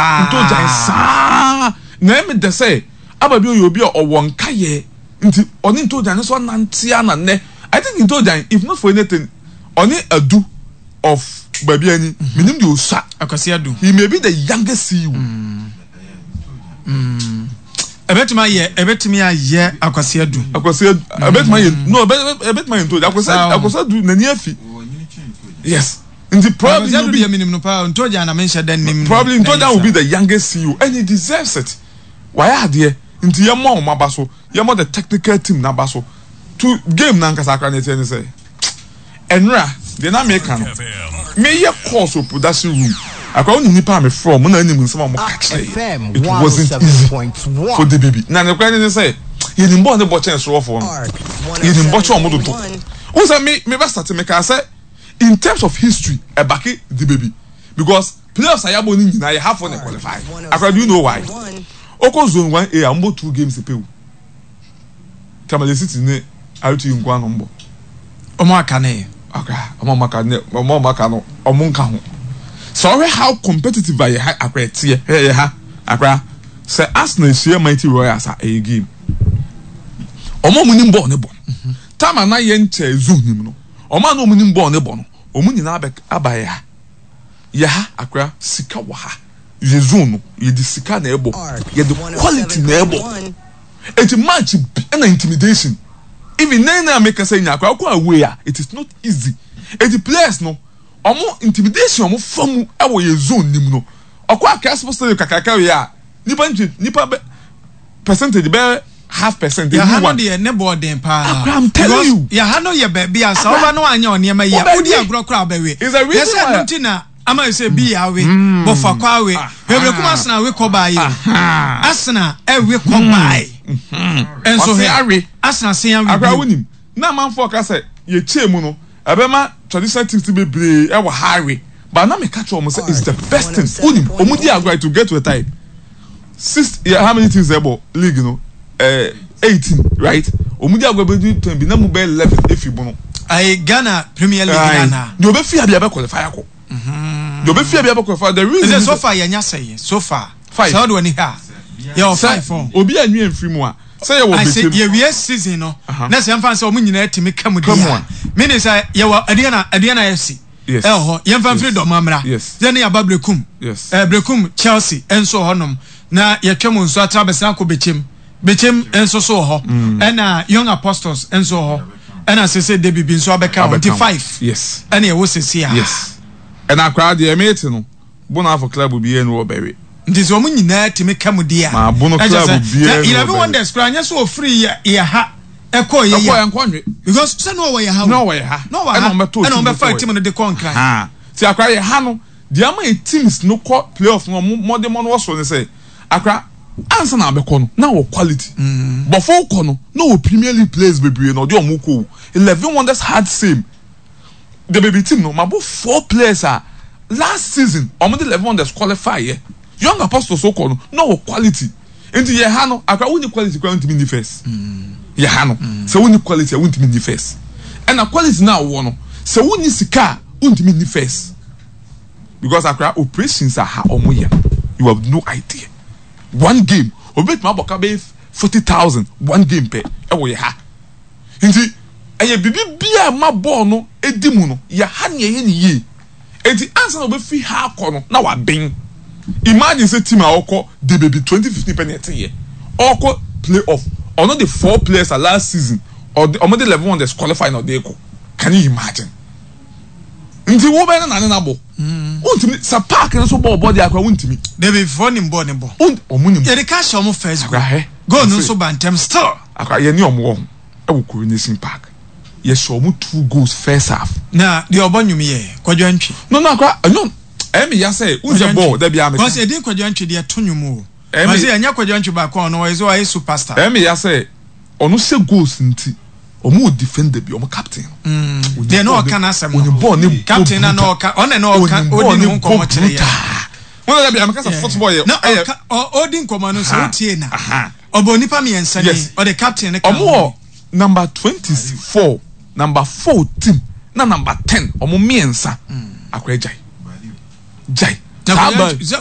Ntogyan saa na ɛyɛ me dɛ sɛ aba bi ɔyɛ obi a ɔwɔ nkayɛ nti ɔne Ntogyan nso anante ara na nnɛ I think Ntogyan if not for anything ɔne Adu of baabi ani menim deɛ ɔsua Akwasi Adu. He may be the youngest CEO. Ɛbɛtumi ayɛ ɛbɛtumi ayɛ Akwasi Adu. Akwasi Adu ɛbɛtumi ayɛ no ɛbɛtumi ayɛ Ntogyan Akwasi Akwasi Adu n'ani afi yes. Nti probably he will be. Minim no paa Ntogya na menhyɛ da nim no. Probably Ntogya will be the youngest CEO and he deserves it. Wayɛ adeɛ nti yɛmmɔ wɔn aba so, yɛmmɔ the technical team n'aba so. To game n'ankasa akora ne teɛ ne sɛ ɛnora deɛ na meka no meyɛ course wɔ production room akora wo ne nipa a mefrɛ wɔn na anim nsɛm a wɔn ka kyerɛ yɛ. It wasn't easy for the baby. Na ne kora ne ne sɛ yɛnim bɔɔl ne bɔ kyɛn sorofoɔ no yɛnim bɔ kyɛn wɔn dodo. Wo sɛ me me bɛ start mekaa sɛ. In terms of history ɛbake di baby because playoffs a yabɔ no nyinaa yɛ half na qualify akora do you know why okɔ zone 1A a wɔbɔ 2 games pɛ o Tamale City ne RTU nko ano mbɔ wɔn aka ne yɛ akora wɔn aka ne wɔn aka no wɔn nka ho sɛ ɔhwɛ how competitive a yɛ ha akora ɛteɛ hwɛ yɛ ha akora sɛ Arsenal ehyia Mighty Royals a ɛyɛ game wɔn a wɔn nim bɔɔl ne bɔ time a na yɛn kyɛ zone nim no. Wɔn a na wɔnim bɔɔl no bɔ no, wɔn nyinaa abɛ aba yɛ ha. Yɛ ha, Accra, sika wɔ ha. Yɛ zone no, yɛde sika na ɛbɔ. Yɛde quality na ɛbɔ. Enti match bi ɛna intimidation. Even nnɛ yi a mekasa yi nyinaa koraa, wokɔ away a, it is not easy. Enti players no, wɔn intimidation a wɔfa mu wɔ yɛ zone no mu no, ɔkɔ Accra Sports Stadium kakraka wei a, nipa ntwe nipa bɛ percentage bɛyɛ half percent. Yaha no deɛ ne bɔɔ den paa. Akra I'm telling you. Yaha no yɛ baabi a sɛ ɔba no anyɛ ɔnneɛma yi a wodi agorɔ koraa ɔbɛwe. Yɛ sɛ ɛno nti na ama yɛ sɛ bi yɛ awe bɔfo akɔ awe hwɛbere kuma asena awe kɔ baa yi o asena ɛwe kɔ baa yi nso hwɛ asena se awe bio. Akra wonim na amanfoɔ ka sɛ yɛkyɛɛ mu no ɛbɛma traditional teams bebree ɛwɔ ha awe but na meka kyerɛ wɔn sɛ it's the best thing wonim wɔn di agorɔ it will get to a time. Six yeah how many teams na ɛbɔ league no eh, 18 right wɔn di agorɔ bɛ di ten bi na mu bɛ 11 efi bono. Ayi Ghana Premier League na na. Deɛ ɔbɛ fi abi abɛ qualify akɔ. Deɛ ɔbɛ fi abi abɛ qualify the reason. Ɛsɛ so far yɛn nya sɛ so far. Five. Sɛ ɔde wɔ ni ha yɛ wɔ five fɔn. Obi a nwi nfiri mu a sɛ yɛ wɔ bɛkyɛm. Yɛ wie season no na sɛ nfa sɛ wɔn nyinaa tumi ka mu di a mi ni sɛ yɛ wɔ Aduana Aduana FC. Yes. Ɛwɔ hɔ. Yɛmfa mfiri Yes. Dɔma mmra. Yes. Yɛne yɛaba Berekum. Yes. Eh, Berekum Chelsea nso wɔ hɔnom. Na yɛtwa mu nso atra bɛsena akɔ Bekyem. Bekyem nso so wɔ hɔ. Ɛna Young Apostles nso wɔ hɔ. Ɛna sese Debi bi nso abɛka ho. Abɛka Nti ho. five. Yes. Ɛna ɛwɔ sese a. Yes. Ɛna koraa deɛ mete no, Bonafo club biara ni wɔ bɛwe. Nti sɛ wɔn nyinaa tumi ka mu di a. Maa Bono ɛkyɛ club sɛ, biara na ni wɔ Eleven bɛwe. Wonders koraa nyɛ sɛ wɔfiri yɛ yɛ ha ɛkɔɔ yɛ Ɛkɔɔ yɛ. yɛ nkɔ nwe. Because sɛ na ɔwɔ yɛ ha o. Na ɔwɔ yɛ ha. Na ɔwɔ ha. Ɛna wɔn bɛtɔ Ɛna team wɔn no bɛfa kɔɔ team no de kɔɔ Nkran. Ha. Ti akora yɛ ha no, deɛ ama yɛ teams no kɔ playoff no wɔn mmɔdemmɔ no wɔ soro ne sɛ, akora ansa na abɛkɔ no na wɔ quality. Bɔfo kɔ no na wɔ Premier League players bebree na ɔde wɔn kɔ o. 11 Wonders had same. The baby team no mabɔ four players a last season wɔn de 11 Wonders qualify yɛ. Young Apostles kɔ no na wɔ quality. Nti yɛ ha no akora wonni quality koraa wontumi nni first. Yɛ ha no sɛ wonni quality a wontumi nni first. Ɛna quality no a wowɔ no sɛ wonni sika a wontumi nni first. Because akora operations a ha wɔn yɛ no you have no idea. One game obi betumi abɔ ka bɛyɛ 40,000 one game pɛ ɛwɔ yɛ ha. Nti ɛyɛ biribi biara a ɛma bɔɔl no di mu no yɛ ha na yɛyɛ no yie. Enti ansa na ɔbɛfiri ha akɔ no na waben. Imagine sɛ team a ɔkɔ de baabi 2015 pɛ na ɛteeɛ. Ɔrekɔ play off. Ɔno de four players a last season ɔde ɔmo de 11 wonders qualify na ɔde rekɔ. Can you imagine? Nti wo bɛyɛ ne na ne na bɔ. Wontumi sɛ park no so bɔ ɔbɔ deɛ akora wontumi. David foɔ nim bɔɔl ne bɔ. Ɔmo nim. Yɛde ka hyɛ ɔmo first goal. Akora hɛ. Goal no nso ba ntɛm still. Akora yɛne ɔmo wɔ ho ɛwɔ Coronation Park. Yɛhyɛ ɔmo two goals first half. Na deɛ ɔbɔ nnwom yɛ Kwadwo Antwi. No no akora ɛnyɛ ɛyɛ me ya sɛ wohu sɛ bɔɔl da biara meka. Cause edin Kwadwo Antwi deɛ to nnwom o. Ɛyɛ me. Ɔse ɛnyɛ Kwadwo Antwi baako a ɔno ɔyɛ sɛ ɔyɛ super star. Ɛyɛ me ya sɛ ɔno hyɛ goals nti ɔmo wɔ defender bi ɔmo captain no. Onim Deɛ na bɔɔl ɔka ne n'asɛm no. onim bɔɔl ne bɔ Captain na na brutal. ɔka ɔno na ɔka Onim bɔɔl ɔdi ne ne ho bɔ nkɔmmɔ kyerɛ yɛn. brutal. Wɔn na da biara meka sɛ football yɛ Na ɛyɛ. ɔka ɔdi nkɔmmɔ no sɛ Aha wotie na aha. ɔbɔ nnipa mmiɛnsa Yes. din ɔde captain no ka Ɔmo ho wɔ bi. Number 24, number 14 na number 10 ɔmo mmiɛnsa akora gyae gyae Na saa Kwadwo ba Antwi sɛ.